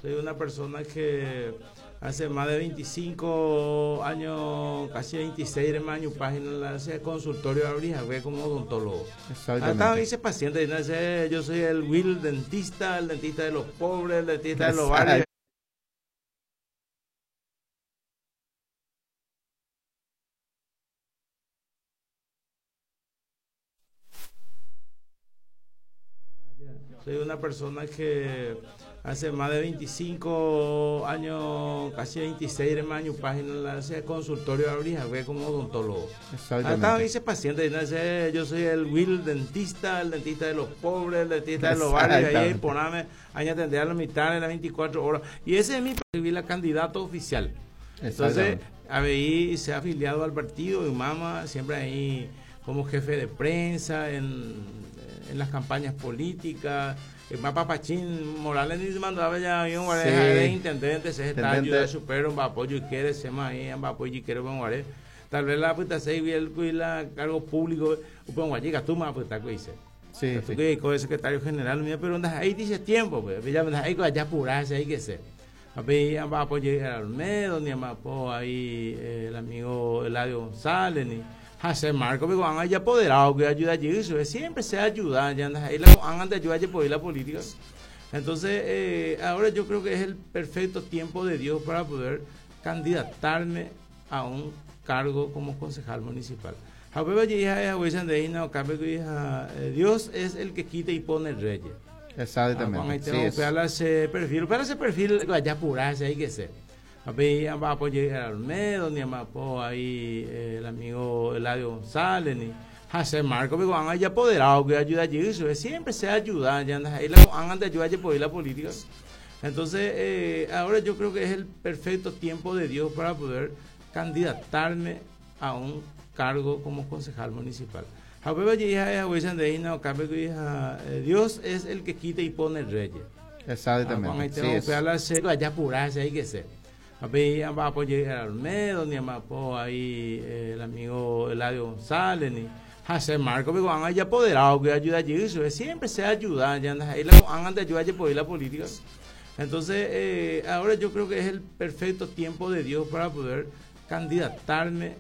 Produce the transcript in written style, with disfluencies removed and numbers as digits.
Soy una persona que hace más de 25 años, casi 26 hermano, página la consultorio abrí como odontólogo. Exactamente. Hasta dice paciente, yo soy el Will dentista, el dentista de los pobres, el dentista de los barrios. Soy una persona que hace más de 25 años, casi 26 hermano, página la consultorio abrí como odontólogo. Exactamente. Hasta dice paciente, yo soy el Will dentista, el dentista de los pobres, el dentista de los barrios, ahí poname, ahí atender a la mitad de las 24 horas. Y ese es mi perfil, candidato oficial. Entonces, ahí se ha afiliado al partido y mamá siempre ahí como jefe de prensa en las campañas políticas. El mapa Pachín Morales ni se mandaba ya un Sí. de intendente, se está Intendente. ayuda supero, un apoyo y quiere, se ma ahí, un apoyo y quiere, un guaré. Tal vez la puta se y el la cargo público, un guayica, tú más puta que dice. Sí, Tú sí. que como secretario general, mira, pero andas ahí dice tiempo, pues, ya andas ahí ya apurarse, ahí que sé. A ver, a apoyar a Olmedo, ni a apoyo ahí el amigo Eladio González, ni José Marco, porque han ahí apoderado que ayuda allí, eso es, siempre se ayuda, ya andas ahí, la, han de ayudar a la política. Entonces, ahora yo creo que es el perfecto tiempo de Dios para poder candidatarme a un cargo como concejal municipal. Dios es el que quita y pone reyes. Exactamente. Ahí Sí, tengo es. que ese perfil, para ese perfil, ya apurarse, hay que ser. A ver, a apoyar a Olmedo, ni a apoyo ahí el amigo Eladio González, ni José Marco, porque han ahí apoderado que ayuda allí, eso es, siempre se ayuda, ya andas ahí, la, han de ayudar a la política. Entonces, ahora yo creo que es el perfecto tiempo de Dios para poder candidatarme a un cargo como concejal municipal. Dios es el que quita y pone reyes. Exactamente. Ahí tengo Sí, que es. ya apurarse, hay que ser. A ver, a apoyar a Olmedo, ni a apoyo ahí el amigo Eladio González, ni José Marco, porque han ahí apoderado que ayuda allí, eso es, siempre se ayuda, ya andas ahí, la, han de ayudar a la política. Entonces, ahora yo creo que es el perfecto tiempo de Dios para poder candidatarme